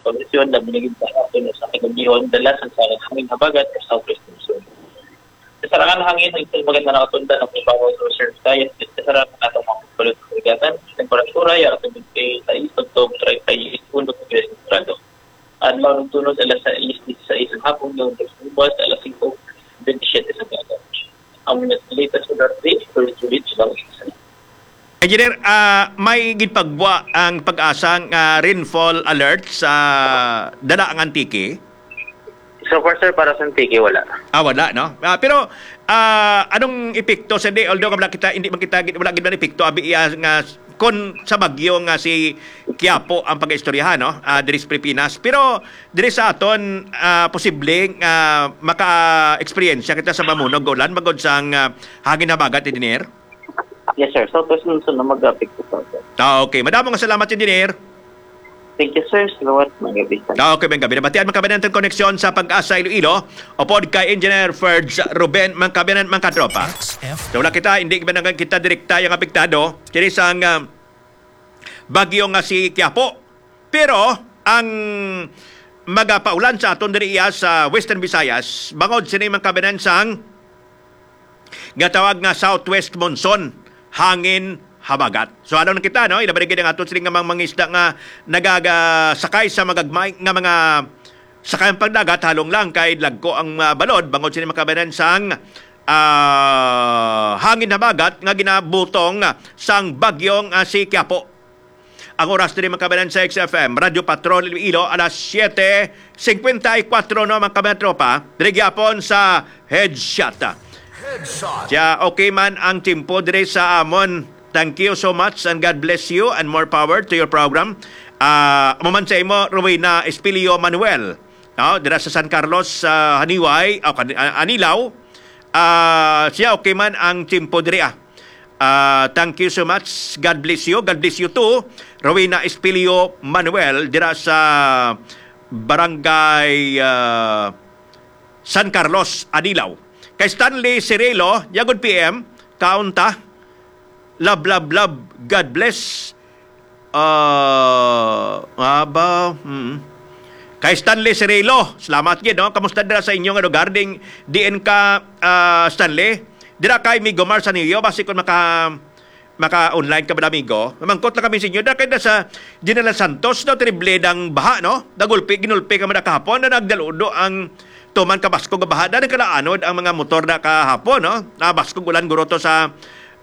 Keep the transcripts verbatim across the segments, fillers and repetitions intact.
pagkondisyon na binigyan sa aton sa kagabihon, dala sa sarang hangin habagat sa Southwest Monsoon. Sa sarangan hangin, ang iton maganda nakatundan ang ibabaw sa Western Visayas, sa sarang atong mga pagbalot sa Karagatan, temperatura, yara sa twenty-six hangtod treinta y uno degrees sentrado. Adlaw ng tunos, alas sais, dise-sais ang hapon, yung ubas, alas singko, bente siyete sa aga. Ang latest weather update, Sir Juliet Silang. Engineer, ah, may ginpagwa ang PAGASA nga rainfall alert sa dala ang Antique? So far, sir, para sa Antique, wala. Ah, wala, no? Ah, pero, ah, anong epekto, sir, di? Although wala kita, hindi man kita, wala gid man epekto, abi, iya nga, kon sa bagyo nga si Quiapo ang pag-istoryahan, no? Ah, diri sa Pilipinas. Pero diri sa aton, ah, posible nga maka-eksperyensya kita sa mamunog nga ulan, bangod sang, ah, hangin habagat, engineer? Yes, sir. Southwest Monsoon na mag-apekto sa atin. Ah, okay. Madamo nga salamat, engineer. Thank you, sir. Salamat, mga gabi. Ah, okay, mga gabi. Nabatian, mga kabayan, ang koneksyon sa PAGASA Iloilo, upod kay Engineer Ferds Ruben, mga kabayan, mga katropa. X F. So, wala kita, hindi ba naman kita direkta yung apektado? Kini sang, ah, bagyo nga si Quiapo. Pero ang magapaulan sa aton diri iya sa Western Visayas, bangod sini, mga kabayan, sang nga tawag nga southwest monsoon, hangin habagat. So, ano na kita, no? Ilabi na gid ang aton siling nga mga mangisda nga nagasakay sa magagmay nga mga sakayan pagdagat, halong lang kay lagko ang, ah, balod, bangod sini, mga kabayan, sang, ah, hangin habagat nga ginabutong sang bagyong, ah, si Quiapo. Ang oras diri, mga kabayan, sa X F M Radyo Patrol Iloilo, alas siyete cincuenta y cuatro, no, mga kabayan, tropa. Diri gyapon sa Headshot. Headshot. Siya, okay man ang tempo diri sa amon. Thank you so much and God bless you and more power to your program. Ah, amo man sa imo, Rowena Espilio Manuel, no, dira sa San Carlos, sa Haniway, o, Kan-, ah, Anilao. Ah, siya, okay man ang tempo diri, ah. Ah, thank you so much. God bless you. God bless you too, Rowena Espilio Manuel, dira sa Barangay, ah, San Carlos, Anilao. Kay Stanley Cirilo, yagod P M, kaunta. Love, love, love. God bless. Ah, nga ba? Mm. Kay Stanley Cirilo, salamat gid, no? Kamusta dira sa inyo nga lugar? Ding, diin ka, ah, Stanley? Dira kay Migo Mar sa Niyo, basi kung maka, maka-online ka ba, amigo? Mamangkot lang kami sa inyo. Dira kay na sa General Santos, daw, terrible dang baha, no? Nagulpi, ginulpi ka man kahapon, na nagdaludo ang tuman ka baskog nga baha. Dahil kalaanod ang mga motor na kahapon, no? Na baskog ulan guro to sa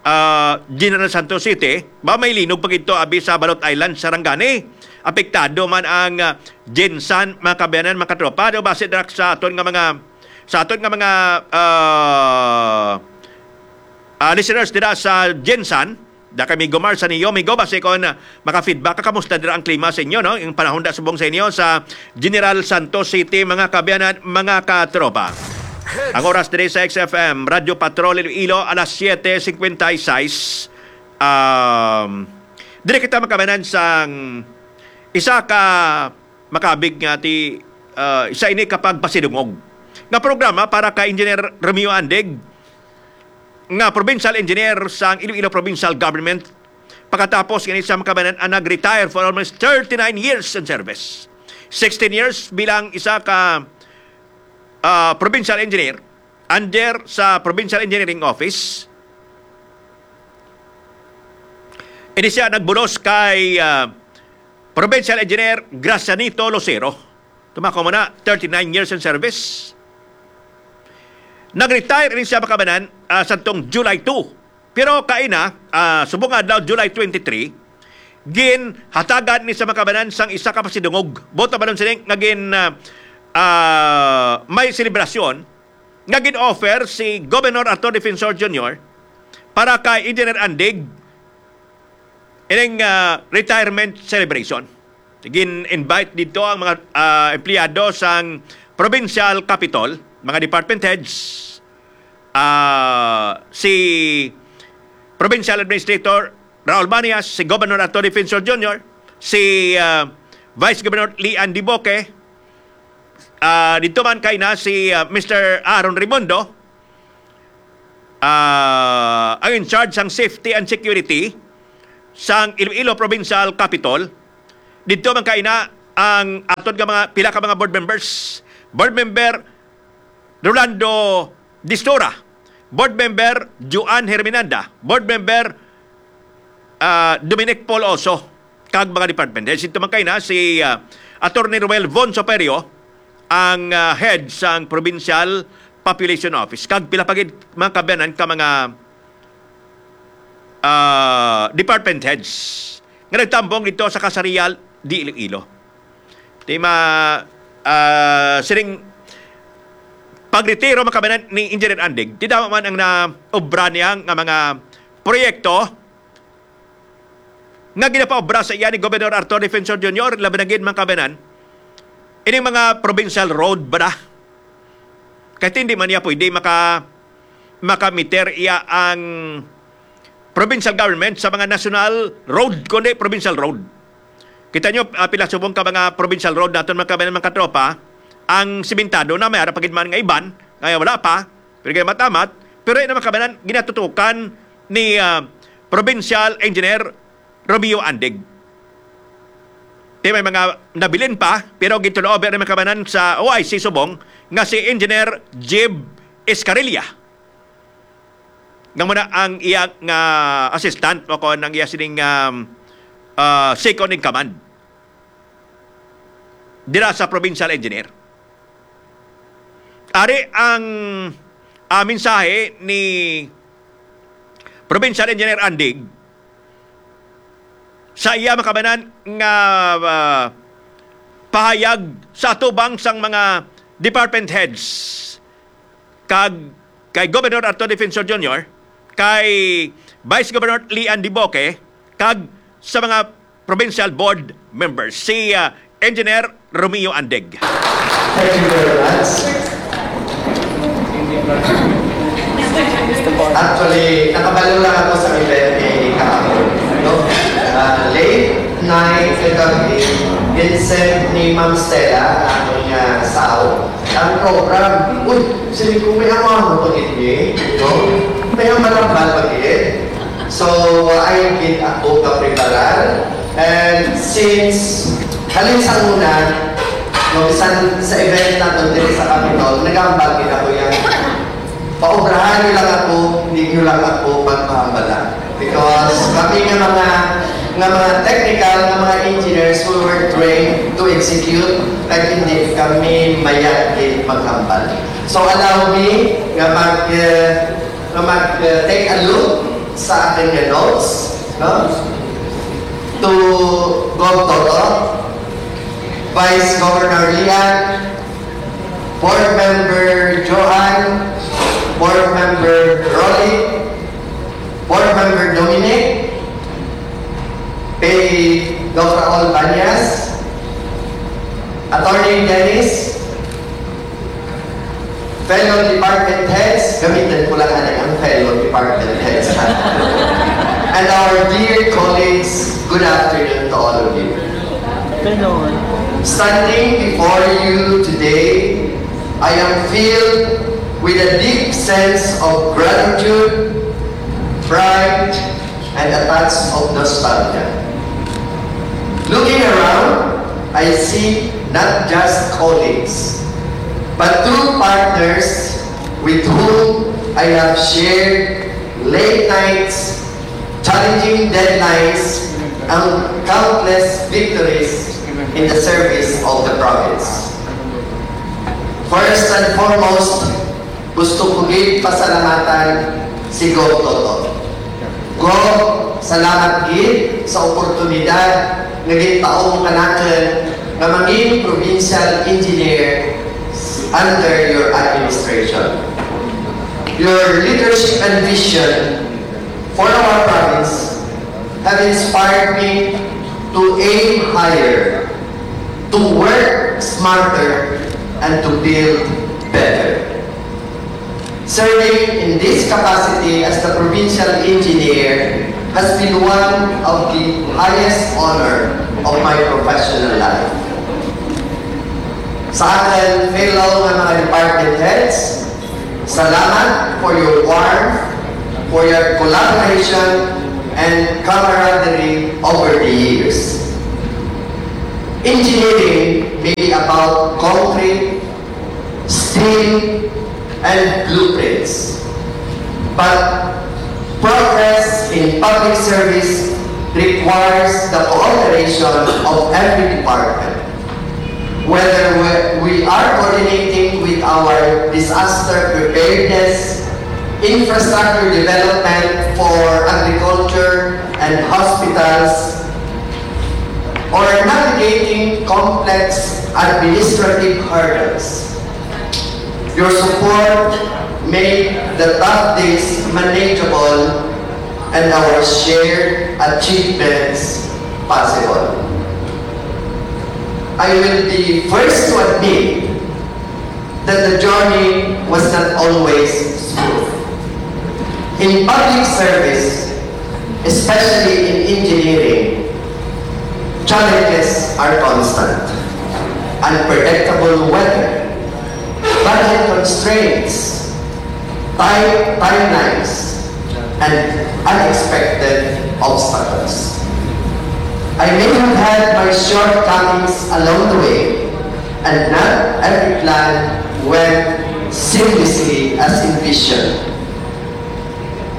ah, General Santos City, ba may linog pa gid to abi sa Balot Island, Sarangani. Apektado man ang, ah, GenSan, mga kabayanan, mga katropa. Do base dira sa aton nga mga, sa aton nga mga, ah, ah, listeners dira sa GenSan, da kay Migo Mar sa Niyo, Migo, base kon, ah, maka-feedback ka, kamusta dira ang klima sa inyo, no? Yung panahon da subong sa inyo sa General Santos City, mga kabayanan, mga katropa. Ang oras diri sa X F M, Radyo Patrol Iloilo, alas siyete cincuenta y seis. Um, diri kita makabanan sang isa ka makabig nga ti, uh, isa ini ka pagpasidungog nga programa para kay Engineer Romeo Andig, nga provincial engineer sang Iloilo Provincial Government. Pagkatapos gani sa makabanan ang nag-retire for almost thirty-nine years in service. Sixteen years bilang isa ka, ah, provincial engineer under sa Provincial Engineering Office. Ini siya nagbulos kay, ah, Provincial Engineer Gracianito Lucero. Tumako mo na, thirty-nine years in service. Nag-retire ini siya makabanan, ah, sa tong July two. Pero kaina, ah, subong nga adlaw, July twenty-three, ginhatagan ni sa makabanan sang isa ka pasidungog. Buot na balon sini nga gin, ah, ah, may selebrasyon nga gin-offer si Governor Arthur Defensor Junior para kay Engineer Andig ining, ah, retirement celebration. Gin-invite dito ang mga, ah, empleyado sang provincial capitol, mga department heads, ah, si Provincial Administrator Raul Banias, si Governor Arthur Defensor Junior, si, ah, Vice Governor Lee Andy Boque, ah, dito man kay na si, ah, Mister Aaron Raimundo, ah, ang in charge sang safety and security sang Iloilo Provincial Capitol. Dito man kay na ang aton nga mga, pila ka mga board members. Board Member Rolando Distura, Board Member Joan Herminanda, Board Member, ah, Dominic Paul Oso, kag mga department heads. Ito man kay na si, ah, Attorney Roel Von Soperio, ang, ah, head sang Provincial Population Office, kag pila pa gid, mga kaabyanan, ka mga, ah, department heads nga nagtambong dito sa Kasarial di Iloilo. Di ma, ah, sining pagretiro, mga kaabyanan, ni Engineer Andig, di damo man ang naobra niya nga mga proyekto nga ginapaobra sa iya ni Gobernador Arthur Defensor Junior, labi na gid, mga kaabyanan, ining mga provincial road ba na? Kay hindi man niya pwede maka-, maka-meter iya ang provincial government sa mga national road, kundi provincial road. Kita nyo, ah, pila subong ka mga provincial road naton, mga kaabyanan, mga katropa, ang simentado na, may ara pa gid man nga iban nga wala pa, pero ginamat-amat, pero yun naman, kaabyanan, ginatutukan ni, ah, Provincial Engineer Romeo Andig. Di may mga nabilin pa, pero gintuloob ni, mga kaabyanan, sa O I C subong nga si Engineer Jib Escarilla, nga muna ang iya nga assistant o kon ang iya sining, um, ah, second in command dira sa provincial engineer. Ari ang, ah, mensahe ni Provincial Engineer Andig sa iya, mga kaabyanan, nga, ah, pahayag sa atubang sang mga department heads kag kay Governor Arthur Defensor Junior, kay Vice Governor Lian Diboque, kag sa mga provincial board members, si, ah, Engineer Romeo Andig. Thank you very much. Actually, nakabalo lang ako sa event ni kahapon, no? Ah, late night kagabi, ginsend ni Ma'am Stella ang akong, ah, sao. Ang program, uy, sini ko may amaho pag-ibig, no? May ang malambal pag-ibig. So, ay gid ako kapreparar. And since halin sa una, no, bisan sa event naton diri sa Capitol, nagambal gid ako yan. Paobrahan niyo lang ako, hindi niyo lang ako pagpahambala. Because kami nga mga, nga mga technical, nga mga engineers, we were trained to execute, kag hindi kami mayat gid maghambal. So allow me nga mag, eh, nga mag, eh, take a look sa akin nga notes, no? To Gov Toto, Vice Governor Lian, Board Member Johan, Board Member Rolly, Board Member Dominic, kay Doc Raul Banyas, Attorney Dennis, fellow department heads, gamitin ko lang, anay, ang fellow department heads, ha? And our dear colleagues, good afternoon to all of you. Standing before you today, I am filled with a deep sense of gratitude, pride, and a touch of nostalgia. Looking around, I see not just colleagues, but true partners with whom I have shared late nights, challenging deadlines, and countless victories in the service of the province. First and foremost, gusto ko gid pasalamatan si Gov Toto. Gov, salamat gid sa oportunidad nga gintaon mo kanakon nga mangin provincial engineer under your administration. Your leadership and vision for our province have inspired me to aim higher, to work smarter, and to build better. Serving in this capacity as the provincial engineer has been one of the highest honor of my professional life. Sa akon fellow nga mga department heads, salamat for your warmth, for your collaboration, and camaraderie over the years. Engineering may be about concrete, steel, and blueprints. But progress in public service requires the cooperation of every department. Whether we, we are coordinating with our disaster preparedness, infrastructure development for agriculture and hospitals, or navigating complex administrative hurdles. Your support made the tough days manageable and our shared achievements possible. I will be first to admit that the journey was not always smooth. In public service, especially in engineering, challenges are constant. Unpredictable weather, budget constraints, tight timelines, and unexpected obstacles. I may have had my shortcomings along the way, and not every plan went seamlessly as envisioned.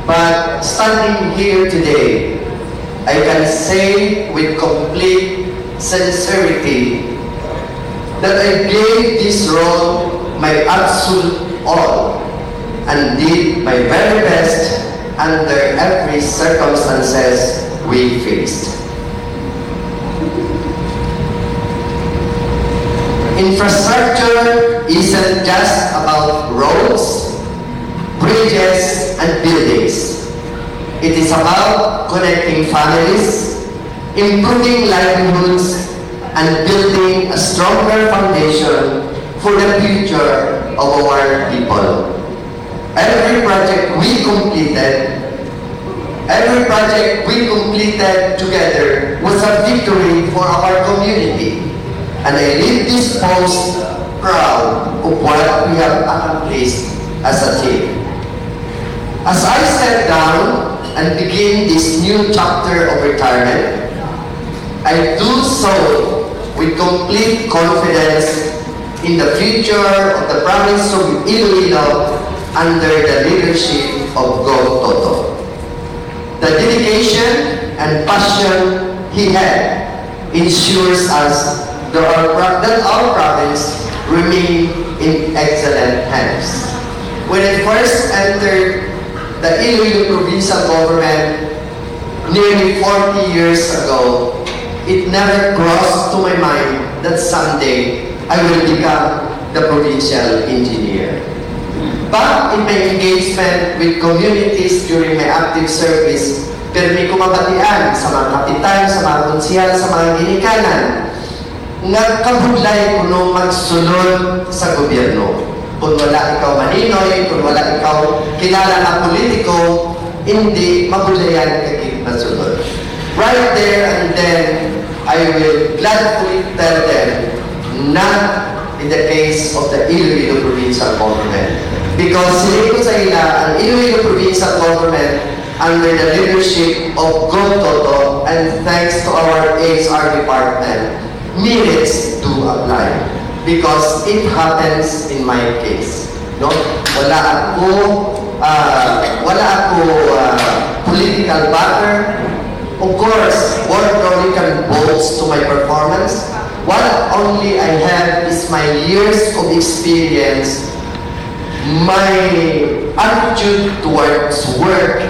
But standing here today, I can say with complete sincerity that I gave this role my absolute all and did my very best under every circumstances we faced. Infrastructure isn't just about roads, bridges, and buildings. It is about connecting families, improving livelihoods, and building a stronger foundation for the future of our people. Every project we completed, every project we completed together was a victory for our community. And I leave this post proud of what we have accomplished as a team. As I step down and begin this new chapter of retirement, I do so with complete confidence in the future of the province of Iloilo under the leadership of Gov Toto. The dedication and passion he had ensures us that our, pro- that our province remain in excellent hands. When I first entered the Iloilo Provincial Government nearly forty years ago, it never crossed to my mind that someday I will become the provincial engineer. But in my engagement with communities during my active service, pirmi ko mabatian sa mga kapitan, sa mga konsehal, sa mga ginikanan, nga kabudlay kuno magsulod sa gobyerno. Kung wala ikaw maninoy, kung wala ikaw kilala nga politiko, hindi mabudlayan ka gid masulod. Right there and then, I will gladfully tell them, not in the case of the Iloilo Provincial Government. Because siling ko sa ila, ang Iloilo Provincial Government under the leadership of Gov Toto and thanks to our A S R department, merits do apply because it happens in my case. No? Wala ako, ah, wala ako ah, political backer. Of course, Board Rolly can boast to my performance. What only I have is my years of experience, my attitude towards work,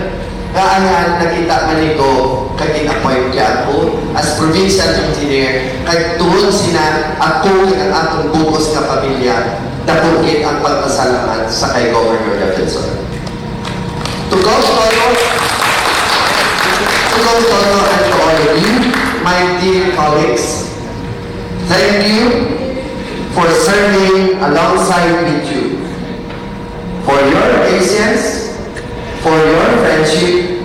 nga ayan nakita man ni Gov kag gin-appoint niya ako as provincial engineer, kag tungod sina ako kag ang akong bug-os nga pamilya, dako gid ang pagpasalamat sa kay Governor Defensor. To Gov Toto, to Gov Toto and to all of you, my dear colleagues, thank you for serving alongside with you, for your patience, for your friendship,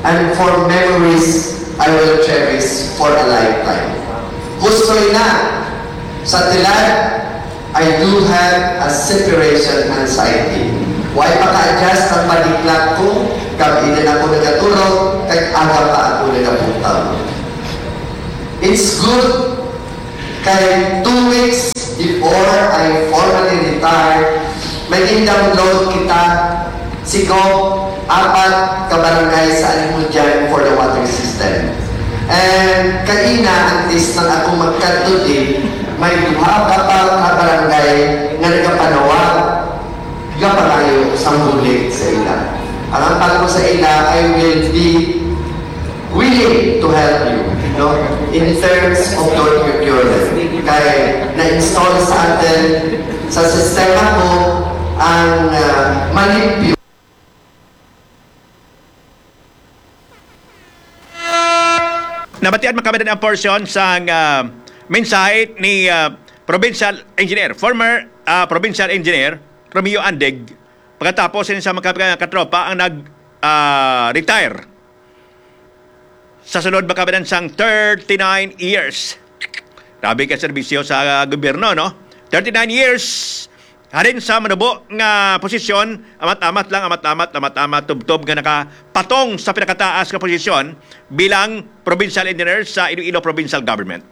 and for memories I will cherish for a lifetime. Gusto na sa tilan, I do have a separation anxiety. Way paka-adjust ang body clock ko, gabi na ako nagaturog, kag aga pa ako nagabuntaw. It's good Kay two weeks before I formally retire, may gin-download kita si Gov apat ka barangay sa Alimodian for the water system. And kaina, antes lang ako magkadto di, may duha ka pa ka barangay nga nagapanawag nga pangayo sang bulig sa ila. Ang ampal ko sa ila, I will be willing to help you, no? In terms of your procurement. Kay na-install sa atin, sa sistema ko, ang, ah, malimpyo. Nabatian man kami ang portion sang, ah, mensahe ni, ah, Provincial Engineer, former, ah, Provincial Engineer Romeo Andig, pagkatapos sa mga kap-, katropa ang nag, ah, retire sa sulod, makabinan sang thirty-nine years. Grabe ka serbisyo sa gobyerno, no? Thirty-nine years, halin sa manubo nga posisyon, amat-amat lang, amat-amat, amat-amat, tubtob nga nakapatong sa pinakataas nga posisyon bilang provincial engineer sa Iloilo Provincial Government.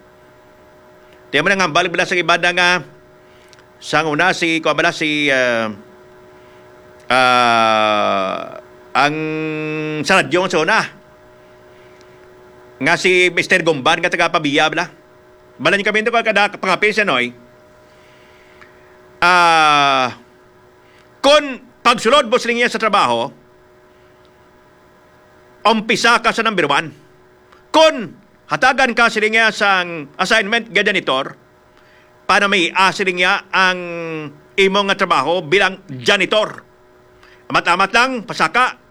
Tiyan mo nang hambal bala sa iba na nga, sang una, si, kuwan bala, si, ah, ah, ang sa radyo sa una, nga si Mister Gumban nga taga Pavia, bala. Bala niyo kami ito, kada pangapil siya, Noy. Ah, kung pagsulod mo sa linya sa trabaho, umpisa ka sa number one. Kung hatagan ka sila niya sang assignment nga janitor, panamia sila niya ang imo nga trabaho bilang janitor. Amat-amat lang, pasaka,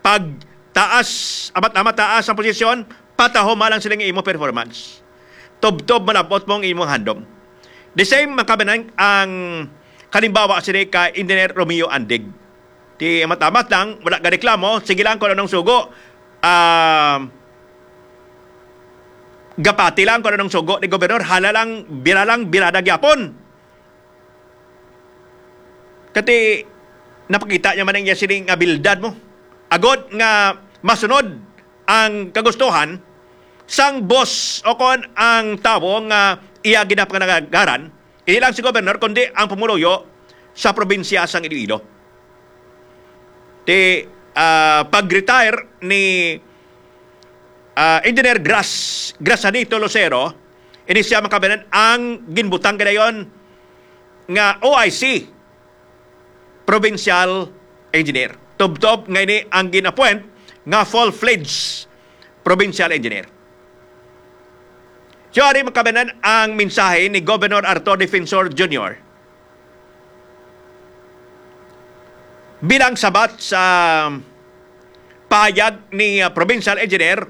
pag taas, amat-amat taas ang posisyon, patahoma lang sila nga imo performance. Tubtob malabot mo ang imong handom. The same, makabinan ang kalimbawa sila ka Engineer Romeo Andig. Ti amat-amat lang, wala ka reklamo, sige lang kung anong sugo. Ah, gapati lang kung anong sugo ni Gobernador, hala lang, bira lang, birada gyapon. Kati, napakita niya man ang iya sining abilidad mo. Agod nga masunod ang kagustuhan sang boss o kon ang tawo nga iya ginapangalagaran, hindi lang si Gobernador, kundi ang pumuluyo sa probinsya sang Iloilo. Ti, ah, pag-retire ni, ah, Engineer Gras-, Grasanito Lucero, ini siya makabinan ang ginbutang ganayon nga O I C, Provincial Engineer. Tubtob nga ini ang gin-appoint nga full-fledged Provincial Engineer. So, ari makabinan ang mensahe ni Governor Arthur Defensor Junior bilang sabat sa pahayag ni, uh, Provincial Engineer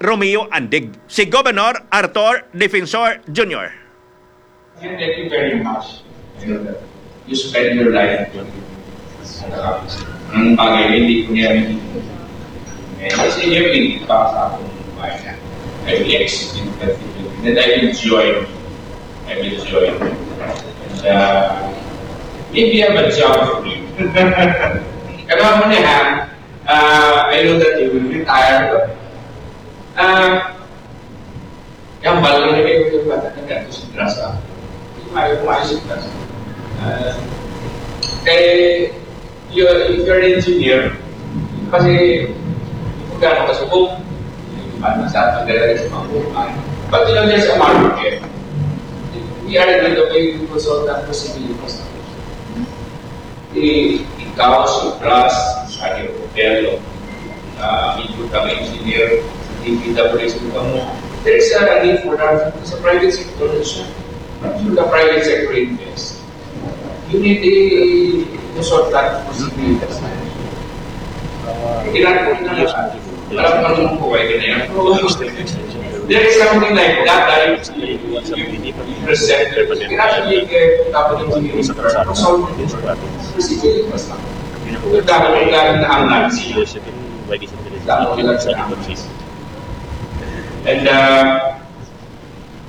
Romeo Andig, si Governor Arthor Defensor Junior. Thank you very much. I know that you spend your life doing it. Ang bagay, hindi ko niya rin. Eh, kasi yun, hindi pa sa akong bayan. I will execute that thing. And I will join. I will join. And, uh, maybe I'm a job for you. Kaya mo niya, ha? Uh, I know that you will retire. Uh, Yang balo na kayo yung bata na ganito sa grasa. Yung ayaw ko ayaw sa grasa. Ah, eh, you're, if you're an engineer, kasi kung gano'n ka subok, yung bata sa atin, dala sa mga buhay. But, you know, there's a market. We are a little bit consultant for civil infrastructure. I-, ikaw, si Pras, sa Hotel, ah, ikaw ka engineer, sa D P W S mo. There is a need for that sa private sector also. Should the private sector invest? You need a resort that for city investment. Kailangan ko na lang. Alam ko naman po, why ganyan. There is something like that, that you, you, you present. Kailangan you get tapos yung, so, basically, basta. Yung dami ng gamit na ang nansi. Dami ng nansi. And, uh,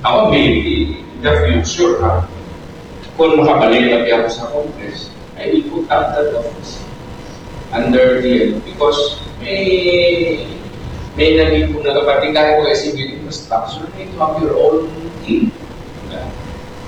ako, maybe, in the future, ha, kung makabalik lagi ako sa Congress, I will put up that office under the, because may, may naging kung nagapatikan ko kasi may infrastructure, you need to have your own team.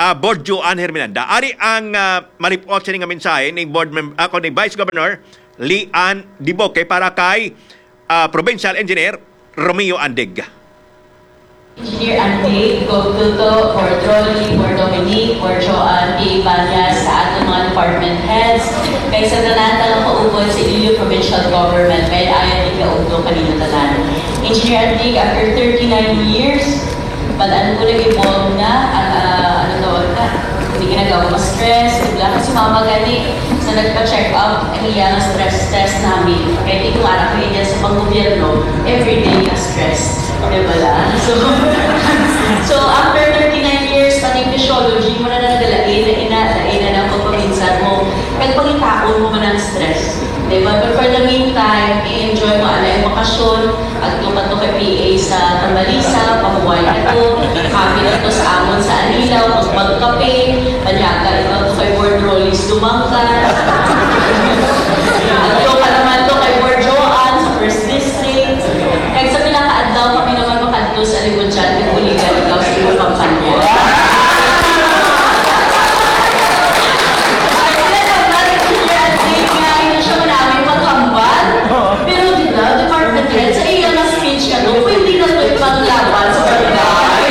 ah, Board Joan Herminanda. Ari ang, ah, malipot sini nga mensahe ni Board Mem-, ah, ni Vice Governor Lee Ann Diboque para kay, ah, Provincial Engineer Romeo Andig. Engineer Andig, Gov Tuto, Board Rolly, Board Dominic, Board Joan, P A Banyas, sa aton mga department heads, kag sa tanan nga nakaupod sa Iloilo Provincial Government, may ayan ikaugto kanila tanan. Engineer Andig, after thirty-nine years, bal-an ko nag-evolve na, at, ah, ano tawag ka? Hindi ka nagawa ma-stress, bigla ka si mama gani, sa nagpa-check up, ang iya nga stress test namin. Kaya di ko ara ko iya sa panggobyerno, everyday ka stress. Di ba lang? So, so after thirty-nine years, pati physiology mo na nagalain na ina, lain na ng pagpaminsan mo. Kag pangitaon mo man ang stress. Di ba? But for the meantime, i-enjoy mo ang iyong bakasyon. Adto ka to kay P A sa Tambalisa, pahuway ka to. Happy ka to sa amon sa Anilaw, magkape. Panyaga, ikaw to kay Board Rolly's Dumangkan. Adto ka naman to kay Board Joan sa First District. Kag sa pila ka adlaw, kami naman makadto sa Libutyan, kag buligan ikaw sa imong kampanya. Ay, wala naman, Engineer Andig, nga hindi siya manami paghambal. Pero di ba, department head, sa iya nga speech ka to, pwede na to ipanglaban sa barangay.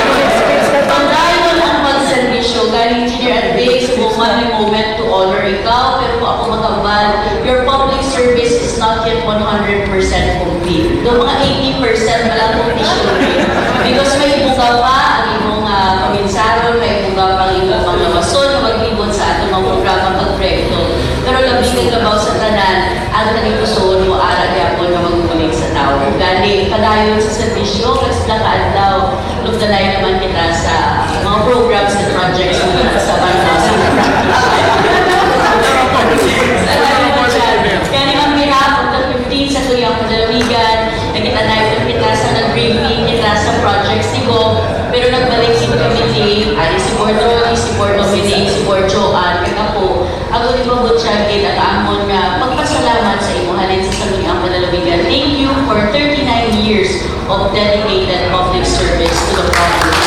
Padayon ang pagserbisyo, gani, Engineer Andig, sa moment, moment to honor ikaw, pero kung ako maghambal, your public service is not yet one hundred percent complete. Do mga eighty percent pa lang completion rate. Because may ibuga pa ang imong, ah, kaminsaron, may ibuga pa ang imong mga lawason nga maglibot sa atong mga programa kag proyekto. Pero labi kag labaw sa tanan, ang tagipusoon mo ara gyapon nga magbulig sa tawo. Gani, padayon sa serbisyo, kag sa pila ka adlaw, magdalay naman kita sa mga programs and projects nga sa banwa. Salamat dyan. Kaya on behalf of the fifteen Sangguniang Panlalawigan, nagkita na kita sa nag-briefing kita sa projects ni Gob, pero nagbalik si committee, ari si Board Rolly, si Board Dominic, si Board Joan, kag ako, ako ni Bob Butchagin, ang amon nga pagpasalamat sa imo halin sa Sangguniang Panlalawigan. Thank you for thirty-nine years of dedicated public service to the province.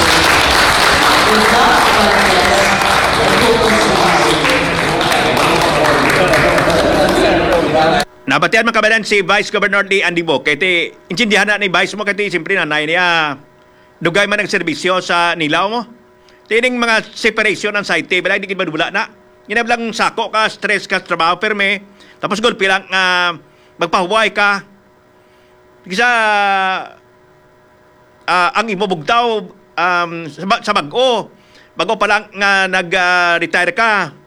Good luck, God bless, and focus on positive. Nabatian man kabanan si Vice Governor Lee Andy Bo, kay ti, intindihan na ni Vice mo, kay ti, siyempre, nanay niya, dugay man ang serbisyo sa Nilaw mo. Tining mga separation anxiety, balay di gid madula na. Ginab lang sako ka, stress ka sa trabaho, perme. Tapos gulpi lang, ah, magpahuway ka. Kisa, ah, ang imo bugtaw, um, sa, ba- sa bag-o. Bag-o pa lang nga nag, ah, retire ka.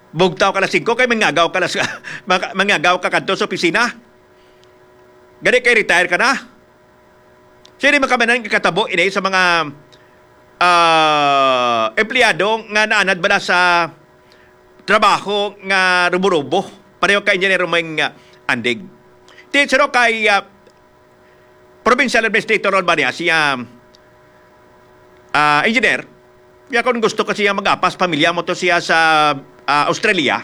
Bugtaw ka na singko kay mangagaw ka na sa, maka- mangagaw ka kadto sa opisina. Gani kay retire ka na. Sini makamanan nga katabo ini sa mga, ah, empleyado nga naanad bala sa trabaho nga rubo-rubo. Pareho kay Engineer Romeng, ah, Andig. Ti-, sino kay, ah, Provincial Administrator Ron Bania, siya, ah, engineer, ya kung gusto ka siya mag-apas, pamilya mo to siya sa, ah, Australia.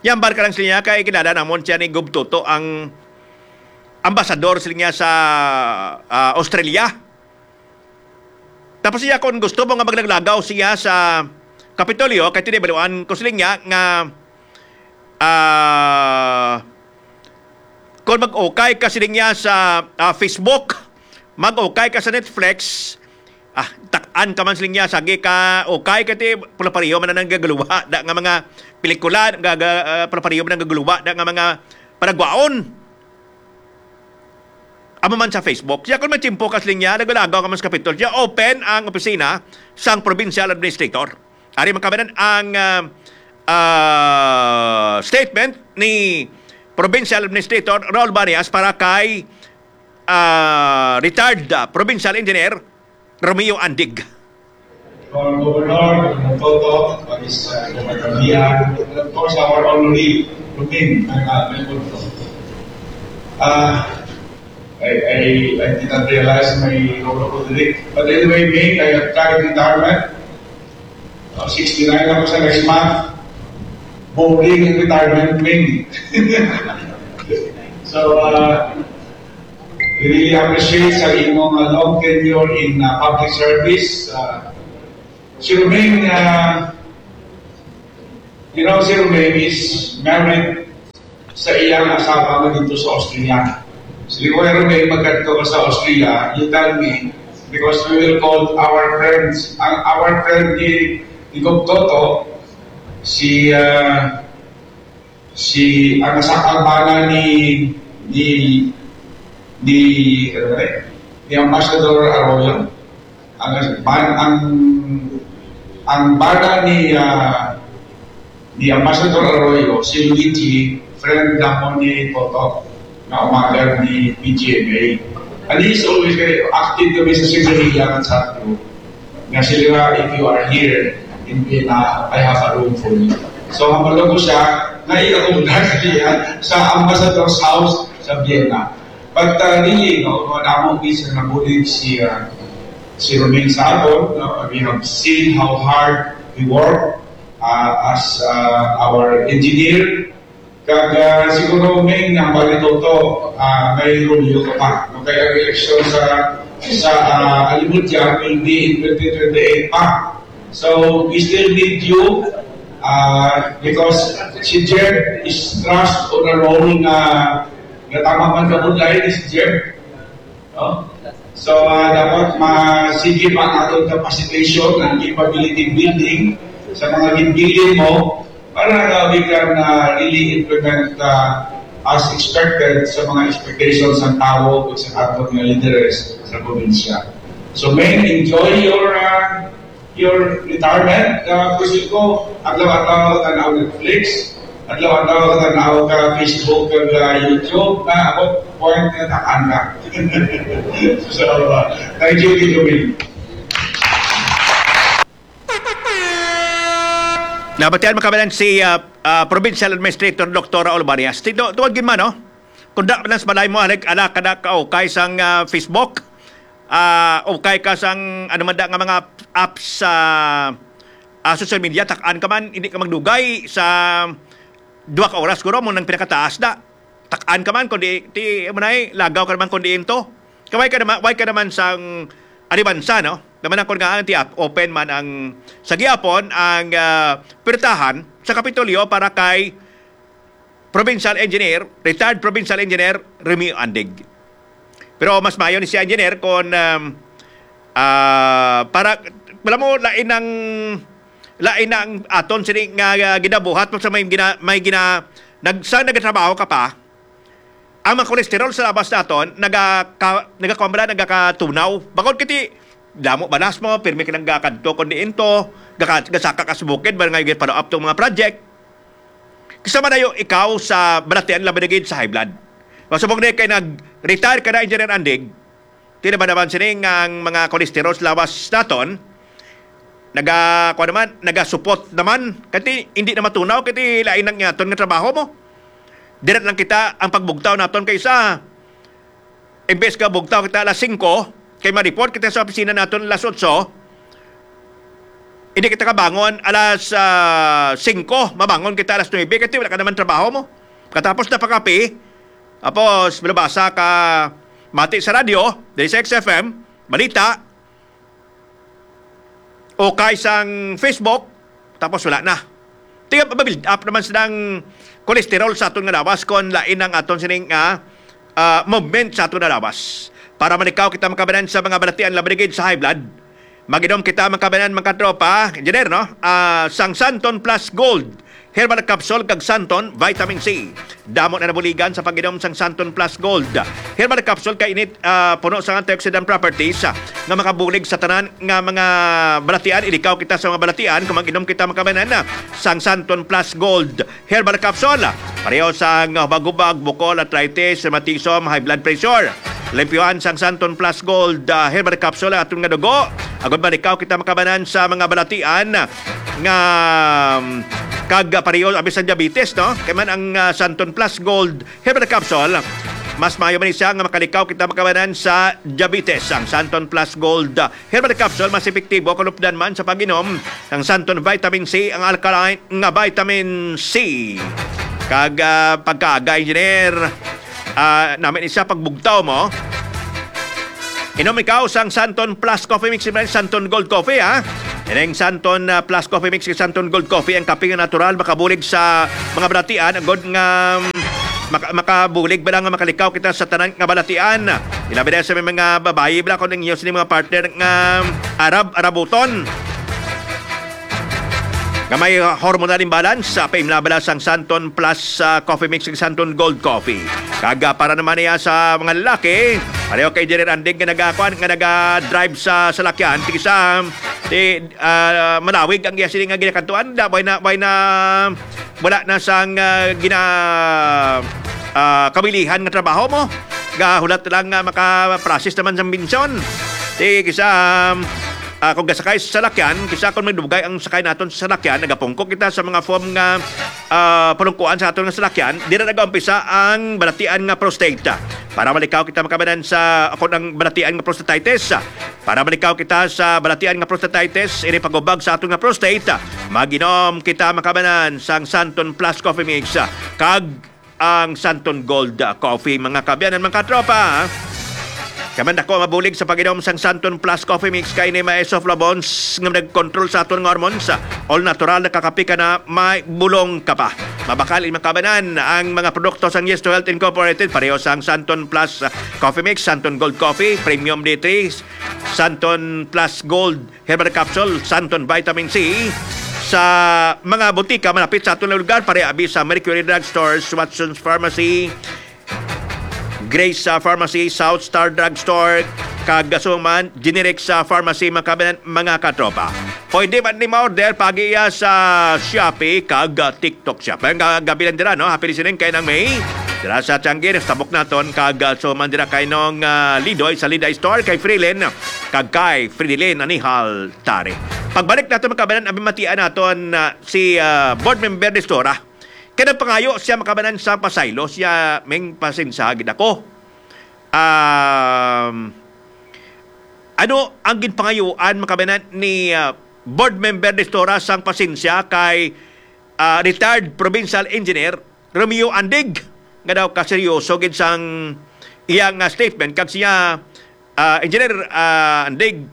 Yambar ka lang sila niya kay kilala namon siya ni Gub Toto, ang ambasador sila niya sa, ah, Australia. Tapos siya, kung gusto mo nga maglaglagaw siya sa Kapitolyo, kay tinibaluan ko sila niya nga, ah, kung mag-ukay ka sila niya sa, ah, Facebook, mag-ukay ka sa Netflix, ah, tak-an ka man sila niya, sagi ka, ukay ka ti, pula-pareho man ang gaguluha, da nga mga pelikula, gaga, ah, pula-pareho man ang gaguluha, da nga mga panagwaon. Amo man sa Facebook. Siya, kung may tiyempo ka sa linya, nagalagaw ka man sa Kapitol. Siya, open ang opisina sang provincial administrator. Ari man kabanan ang, ah, ah, statement ni Provincial Administrator Raul Banias para kay, ah, retired, ah, Provincial Engineer Romeo Andig. Honorable Governor, Governor Toto, Vice, uh, Governor Lian, and of course, our honoree, Ruben, uh, Melbourne. Uh, I, I, I did not realize may role ako dili. But anyway, Ming, I have tried retirement. Uh, sixty-nine ako sa next month. Boring ang retirement, Ming. So, uh, we really appreciate sa imong, uh, long tenure in, uh, public service. Uh, Si Roming, ah, you know, si Roming is married sa iyang asawa nga dito sa Austria. Si Kuya Roming, magkadto ka sa Austria, you tell me, because we will call our friends. Ang our friend ni, ni Gov Toto, si, ah, si, ang asa-, ang bana ni, ni, ni, ano ba eh? Ni Ambassador Arroyo. Ang, ban-, ang, ang bana ni, ah, ni Ambassador Arroyo, si Luigi, friend namon ni Toto, nga umagal ni P G M A. And he's always very active kami sa Sinseria at sa Group. Nga sila, "If you are here in Vienna, I have a room for you." So, hamalo ko siya, nga iakong siya sa Ambassador's House sa Vienna. But, uh, really, no, madamo gid sa nabulig si, uh, si Roming sa aton, no? We have seen how hard he work, uh, as, uh, our engineer. Kag, uh, siguro, Ming, ang bali, Toto, uh, may Romeo ka pa. No? Kaya ang eleksyon sa, sa, uh, Alimutia will be in twenty twenty-eight pa. So, we still need you, uh, because si Jeb is thrust on a role nga, nga tama man ka budlay ni si Jeb. No? So, uh, dapat masige pa ang aton capacitation, ang capability building sa mga ginbilin mo para nga we can, uh, really implement, uh, as expected sa mga expectations ng tao o sa aton nga leaders sa probinsya. So, Ming, enjoy your, uh, your retirement. Uh, Kusin ko, adlaw-adlaw ka tanaw Netflix, adlaw-adlaw ka tanaw ka Facebook, ka, uh, YouTube, na ako, point na takan ka. So, uh, thank you, Tito Will. Nabatian mo kami si, ah, ah, Provincial Administrator Doktora Olbarias. Tito, tuwag yun man, no? Kung da, nas balay mo, alag, ala ka na kaukay sang, ah, Facebook, ah, ukay ka sang, ano man da nga mga apps sa, ah, social media, takaan ka man, hindi ka magdugay sa duha ka oras, guro, mo nang pinakataas da. Takaan ka man, kundi, ti, mo na eh, lagaw ka naman, kundi into. Kaway ka naman, way ka naman sang alibansa, no? Naman ako nga, ang ti, open man ang, sa gihapon, ang, ah, pirtahan sa Kapitolyo para kay Provincial Engineer, retired Provincial Engineer Remy Andig. Pero mas maayo ni si Engineer kung, um, ah, para, wala mo, lain ang, lain ang aton sini nga, ah, ginabuhat mo sa may gina-, may gina-, nag-, sa nagatrabaho ka pa, ang mga kolesterol sa labas naton, naga-, ka-, nagakuha ba na, nagakatunaw. Bakod kiti, damo balas mo, pirmi ka nang gakadto, kundi into, gaka-, gasaka ka sa bukid, ba nga yung follow up tong mga project. Kasama na yung ikaw sa balatian, labi na gid sa high blood. Masubog na kay nag-retire ka na, Engineer Andig, tila ba naman sining ang mga kolesterol sa lawas naton, naga, kuwan naman, nagasupot naman, kati hindi na matunaw, kati lain ang yaton nga trabaho mo. Dira lang kita ang pagbugtaw naton kay sa Imbes nga bugtaw kita alas singko, kay ma-report kita sa opisina naton alas otso, hindi kita kabangon alas, ah, singko, mabangon kita alas nuebe, kay wala ka naman trabaho mo. Katapos na pakape, tapos malabasa ka, mati sa radyo, diri sa X F M, balita, o kay sang Facebook, tapos wala na. Tiga, ma-build up naman silang kolesterol sa aton nga lawas kon lain ang aton sining nga, ah, movement sa aton nga lawas. Para malikaw kita makabanan sa mga balatian, labi na gid sa high blood. Mag-inom kita makabanan, mga tropa, engineer, no? Ah, sang Santon Plus Gold Herbal Capsule kag Santon Vitamin C. Damo na nabuligan sa pag-inom sang Santon Plus Gold Herbal Capsule kay init, ah, puno sa antioxidant properties, ah, nga makabulig sa tanan nga mga balatian. Ilikaw kita sa mga balatian kung mag-inom kita makabanan, ah, sang Santon Plus Gold Herbal Capsule. Pareho sa nga hubag-hubag, bukol, arthritis, rheumatism, high blood pressure. Limpyuhan sang Santon Plus Gold, ah, Herbal Capsule ang aton nga dugo. Agod malikaw kita makabanan sa mga balatian nga, um, kag, ah, pareho abi sa diabetes, no? Kay man ang, ah, Santon Plus Gold Herbal Capsule, mas maayo man siya nga makalikaw kita makabanan sa diabetes. Ang Santon Plus Gold, ah, Herbal Capsule mas epektibo kung lupdan man sa pag-inom ng Santon Vitamin C, ang alkaline nga vitamin C. Kag, ah, pagkaaga, engineer, ah, namin isa pagbugtaw mo. Inom ikaw sang Santon Plus Coffee Mix, Santon Gold Coffee, ha? Ining Santon, ah, Plus Coffee Mix kag Santon Gold Coffee, ang kape nga natural, makabulig sa mga balatian, agod nga, mm, maka-, makabulig ba lang nga makalikaw kita sa tanan nga balatian. Ilabi na sa may mga babayi, bala, kung ninyo sini mga partner nga Arab, Arabuton. Nga may hormonal imbalance, sa paimla bala sang Santon Plus, ah, Coffee Mix kag Santon Gold Coffee. Kag, ah, para naman niya sa mga lalaki, pareho kay Engineer Andig nga nagakuan, nga naga-drive sa salakyan, tigsa, ti, ah, malawig ang iya sini nga ginakantuan. Da, way na, way na, wala na sang, ah, gina-, ah, kabilihan nga trabaho mo. Gahulat lang nga maka-process naman sang bensyon. Ti, kisa, ah, kung gasakay sa salakyan, kisa kung magdugay ang sakay naton sa salakyan, nagapungko kita sa mga foam nga, ah, pulungkuan sa aton nga salakyan, dira nagaumpisa ang balatian nga prostate. Para malikaw kita makabanan sa, kung ang balatian nga prostatitis, para malikaw kita sa balatian nga prostatitis, ini pagubag sa aton nga prostate, mag-inom kita makabanan sang Santon Plus Coffee Mix, kag ang Santon Gold Coffee, mga kaabyanan, mga katropa. Kay man dako mabulig sa pag-inom sang Santon Plus Coffee Mix kay ni may isoflavones nga nag-control sa aton nga hormones. All natural, nakakapi ka na, may bulong ka pa. Mabakal, mga kaabyanan, ang mga produkto sang Yes to Health Incorporated, pareho sang Santon Plus, ah, Coffee Mix, Santon Gold Coffee, Premium D three, Santon Plus Gold Herbal Capsule, Santon Vitamin C, sa mga butika malapit sa aton lugar, pareha abi sa Mercury Drug Stores, Watson's Pharmacy, Grace, ah, Pharmacy, South Star Drug Store, kag Gasuman, Generic sa Pharmacy, mga kabanan, mga katropa. Pwede man ni ma-order pag-iya sa Shopee kag, ah, TikTok Shop. Ang ga-, gabi lang dira, no? Happy listening kay Nang May. Dira sa Tiangge, sa tabok naton, kag, ah, so man dira kay Nong, ah, Lidoy sa Liday Store, kay Frilin, kag kay Fridilin Anihal Tari. Pagbalik nato, mga kabanan, abi matian naton, ah, si, ah, Board Member Nestora. Kay nagpangayo siya, mga kabanan, sa pasaylo siya, ming pasensya gid ako. Um, ano ang ginpangayuan, mga kabanan, ni, ah, Board Member Nestora sang pasensya kay, ah, retired provincial engineer Romeo Andig, nga daw kaseryoso gid sang iyang, ah, statement, kag siya, ah, Engineer, ah, Andig,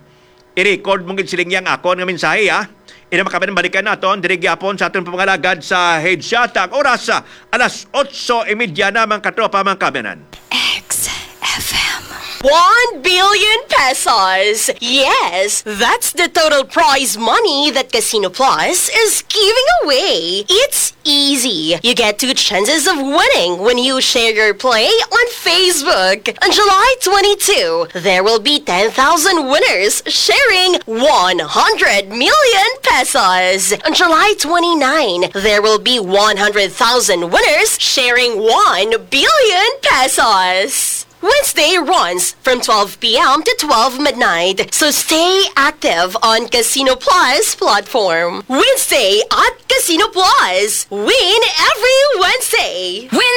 i-record mo gid siling yang akon nga mensahe, ha. Ina, mga kabanan, balikan naton diri gyapon sa aton pangalagad sa Headshot. Ang oras, ah, alas otso y media na, mga katropa, mga kabanan. X F M. One billion pesos. Yes, that's the total prize money that Casino Plus is giving away. It's easy. You get two chances of winning when you share your play on Facebook. On July twenty-two, there will be ten thousand winners sharing one hundred million pesos. On July twenty-nine, there will be one hundred thousand winners sharing one billion pesos. Wednesday runs from twelve p m to twelve midnight, so stay active on Casino Plus platform. Wednesday at Casino Plus. Win every Wednesday. Win